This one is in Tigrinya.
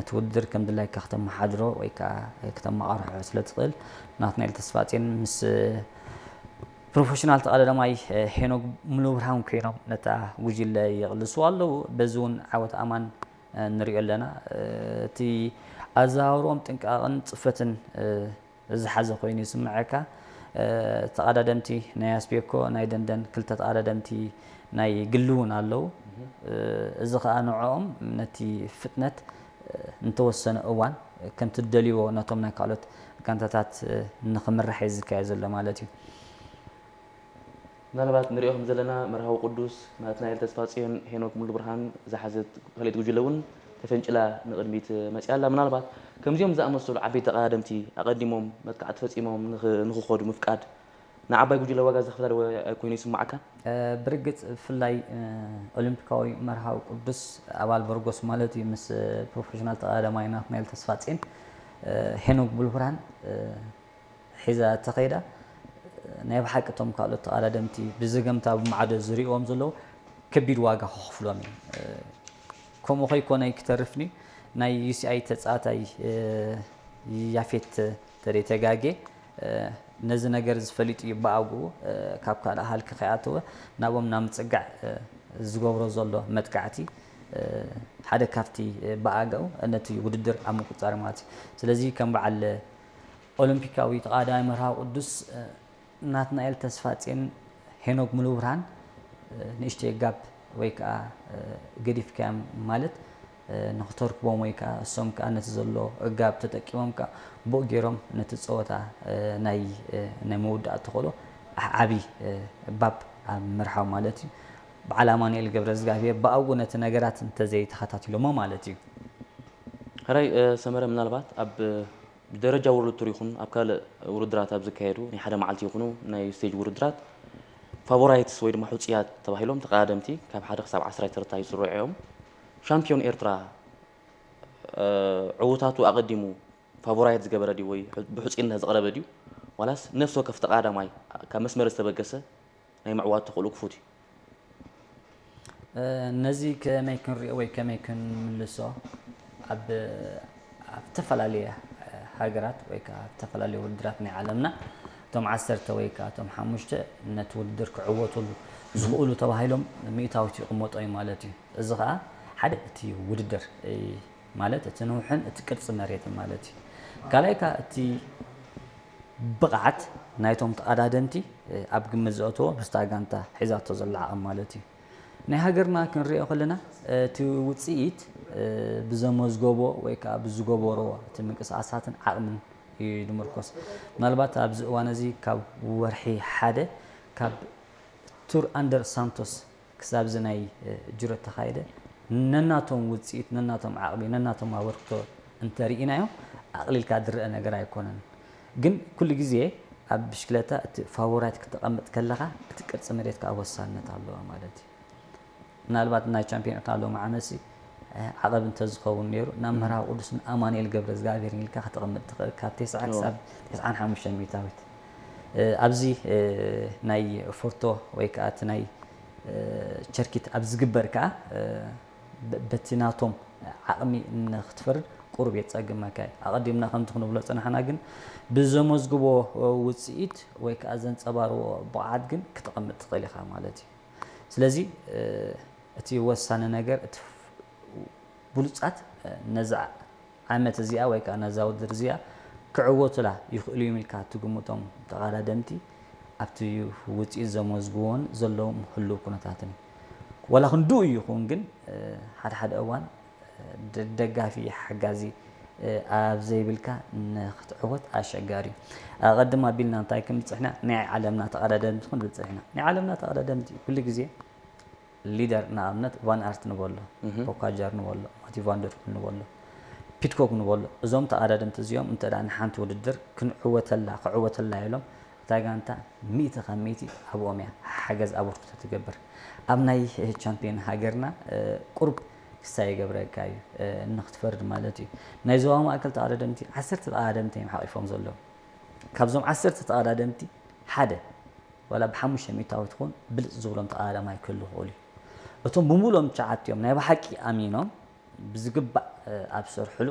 እቲ ውድድር ከም ድላይካ ክተመሓድሮ ወይ ከዓ ክተመቓርሖ ስለ ትኽእል፣ ናትናኤል ተስፋጼን ምስ ፕሮፌሽናል ተቐዳዳማይ ሄኖክ ሙሉብርሃን ኮይኖም ነታ ጉጅለ ይቕልስዋ ኣለዉ። በዚ እውን ዓወት ኣማን ንሪኦ ኣለና። እቲ ኣዘዋውርኦም ጥንቃቕን ጽፈትን ዝሓዘ ኮይኑ ይስምዐካ። ተቐዳደምቲ ናይ ኣስቤኮ፣ ናይ ደንደን ክልተ ተቐዳደምቲ ናይ ግሊ እውን ኣለዉ። እዚ ኸኣ ንዕኦም ነቲ ፍጥነት እንተወሰነ እዋን ከምቲ ደልይዎ ነቶም ናይ ካልኦት ጋንታታት ንኽምራሕ እዩ ዝካየድ ዘሎ ማለት እዩ። ምናልባት ንሪኦ ከም ዘለና መርሃዊ ቅዱስ ናትናኤል ተስፋጽዮን ሄኖክ ሙሉብርሃን ዝሓዘት ካልኣይቲ ጉጅለ እውን ተፈንጭላ ንቕድሚት መፅያ ኣላ። ምናልባት ከምዚኦም ዝኣመሰሉ ዓበይቲ ተቐዳደምቲ ኣቐዲሞም መጥቃዕቲ ፈፂሞም ንኽ- ንኽኸዱ ምፍቃድ ንዓባይ ጉጅለ ዋጋ ዘኽፍላ ዶ ኮይኑ ይስማዓካ? ብርግፅ ብፍላይ ኦሎምፒካዊ መርሃዊ ቅዱስ ኣባል በርጎስ ማለት እዩ ምስ ፕሮፌሽናል ተቐዳዳማይ ናትናኤል ተስፋጼን ሄኖክ ሙሉብርሃን ሒዛ ተኸይዳ ናይ ብሓቂ እቶም ካልኦት ተቐዳደምቲ ብዝገምታ ብማዕዶ ዝሪእዎም ዘለዉ ከቢድ ዋጋ ክኸፍሎም እዮም። ከምኡ ከይኮነ ክተርፍኒ ናይ ዩሲኣይ ተፃዋታይ ያፌት ተደይ ተጋጌ ነዚ ነገር ዝፈሊጡ እዩ ብኣግኡ ካብ ካልእ ሃልኪ ከይኣተወ ናብኦም ናብ ምፅጋዕ ዝገብሮ ዘሎ መጥቃዕቲ ሓደ ካብቲ ብኣግኡ ነቲ ውድድር ኣብ ምቁፃር ማለት እዩ። ስለዚ ከም በዓል ኦሎምፒካዊ ተቐዳዳማይ መርሃዊ ቅዱስ ናትናኤል ተስፋጼን ሄኖክ ሙሉብርሃን ንእሽተይ ጋፕ ወይ ከዓ ገዲፍካዮም ማለት ንኽተርክቦም ወይ ከዓ እሶም ከዓ ነቲ ዘሎ ጋፕ ተጠቂሞም ከዓ ብኡ ገይሮም ነቲ ፀወታ ናይ ናይ መወዳእቲ ተኽእሎ ዓብዪ ባብ ኣብ ምርሓው ማለት እዩ። በዓል ኣማኑኤል ገብረዝጋብሄር ብኣግኡ ነቲ ነገራት እንተዘይተኸታቲሎሞ ማለት እዩ። ሕራይ ሰመረ ምናልባት ኣብ ብደረጃ ወርልድ ቱር ይኹን ኣብ ካልእ ውድድራት ኣብ ዝካየዱ ናይ ሓደ መዓልቲ ይኹኑ ናይ ስቴጅ ውድድራት ፋቮራይትስ ወይ ድማ ሕፁያት ተባሂሎም ተቐዳደምቲ ካብ ሓደ ክሳብ ዓስራይ ተርታ ይስርዑ እዮም። ሻምፒዮን ኤርትራ ዕውታቱ ኣቐዲሙ ፋቮራይት ዝገበረ ድዩ ወይ ብሕፁይነት ዝቐረበ ድዩ ዋላስ ነፍሲ ወከፍ ተቐዳዳማይ ካብ መስመር ዝተበገሰ ናይ ምዕዋት ተኽእሎ ክፉት እዩ? ነዚ ከመይ ክንሪኦ ወይ ከመይ ክንምልሶ ኣብ ኣብ ዝተፈላለየ ሃገራት ወይ ከዓ ኣብ ዝተፈላለየ ውድድራት ናይ ዓለምና እቶም ዓሰርተ ወይ ከዓ እቶም ሓሙሽተ ነቲ ውድድር ክዕወቱሉ ዝኽእሉ ተባሂሎም ሚእታዊት ይቕመጦ እዩ ማለት እዩ። እዚ ከዓ ሓደ እቲ ውድድር ማለት እቲ ንውሕን እቲ ቅርፂ መሬትን ማለት እዩ። ካልኣይ ከዓ እቲ ብቕዓት ናይቶም ተቐዳደምቲ ኣብ ግምት ዘእተዎ ምስታ ጋንታ ሒዛቶ ዘላ ዓቕሚ ማለት እዩ። ናይ ሃገርና ክንሪኦ ከለና እቲ ውፅኢት ብዘመዝገቦ ወይ ከዓ ብዝገበሮ እቲ ምንቅስቃሳትን ዓቕምን እዩ ዝምርኮስ። ምናልባት ኣብዚ እዋን እዚ ካብ ወርሒ ሓደ ካብ ቱር ኣንደር ሳንቶስ ክሳብ እዚ ናይ ጅሮ ተኻየደ ነናቶም ውፅኢት ነናቶም ዓቕሚ ነናቶም ኣበርክቶ እንተርኢናዮም ኣቕሊልካ ዝረአ ነገር ኣይኮነን። ግን ኩሉ ግዜ ኣብ ብሽክለታ እቲ ፋቮራይት ክተቐምጥ ከለኻ እቲ ቅርፂ መሬት ከዓ ወሳንነት ኣለዎ ማለት እዩ። ምናልባት ናይ ቻምፒዮን ኤርትራ ሎሚ ዓመትሲ ዓቐብ እንተዝኸውን ነይሩ ናብ መርሃዊ ቅዱስ ኣማኑኤል ገብረ እግዚኣብሔር ኢልካ ከተቐምጥ ትኽእል ካብ ተስዓ ክሳብ ተስዓን ሓሙሽተን ሚእታዊት ኣብዚ ናይ ፎርቶ ወይ ከዓ እቲ ናይ ቸርኪት ኣብ ዝግበር ከዓ በቲ ናቶም ዓቕሚ ንክትፈርድ ቁሩብ የፀግመካ እዩ። ኣቐዲምና ከምቲ ክንብሎ ዝፀናሕና ግን ብዘመዝግቦ ውፅኢት ወይ ከዓ ዘንፀባርቦ ብቕዓት ግን ክተቐምጥ ትኽእል ኢኻ ማለት እዩ። ስለዚ እቲ ወሳኒ ነገር እቲ ብሉፃት ነዛ ዓመት እዚኣ ወይ ከዓ ነዛ ውድድር እዚኣ ክዕወቱላ ይኽእሉ እዮም ኢልካ ትግምቶም ተቐዳደምቲ ኣብቲ ውፅኢት ዘመዝግቦን ዘለዎም ህሉው ኩነታትን እዩ። ዋላ ክንድኡ ይኹን ግን ሓደ ሓደ እዋን ደጋፊ ሓጋዚ ኣብ ዘይብልካ ንክትዕወት ኣሸጋሪ እዩ። ኣቐድም ኣቢልና እንታይ ክንብል ፀኒሕና ናይ ዓለምና ተቐዳደምቲ ክንብል ፀኒሕና ናይ ዓለምና ተቐዳደምቲ ኩሉ ግዜ ሊደር ንኣብነት ቫን ኣርት ንበሎ፣ ፖካጃር ንበሎ፣ ማቲ ቫንደርፑል ንበሎ፣ ፒትኮክ ንበሎ እዞም ተቐዳደምቲ እዚኦም እንተ ንሓንቲ ውድድር ክንዕወተላ ክዕወተላ ኢሎም እታ ጋንታ ሚእቲ ካብ ሚእቲ ኣብኦም እያ ሓገዝ ኣበርክቶ ትገብር። ኣብ ናይ ቻምፒዮን ሃገርና ቁሩብ ክሳይ ይገብረካ እዩ ንክትፈርድ ማለት እዩ። ናይ ዞባ ማእከል ተቐዳደምቲ ዓሰርተ ተቐዳደምቲ እዮም ሓቒፎም ዘለዉ። ካብዞም ዓሰርተ ተቐዳደምቲ ሓደ ዋላ ብሓሙሽተ ሚእታዊት ትኹን ብልፅ ዝብሎም ተቐዳዳማይ ክህሉ ይኽእሉ እዩ። እቶም ብምሉኦም ትሽዓቲኦም ናይ ብሓቂ ኣሚኖም ብዝግባእ ኣብ ዝሰርሕሉ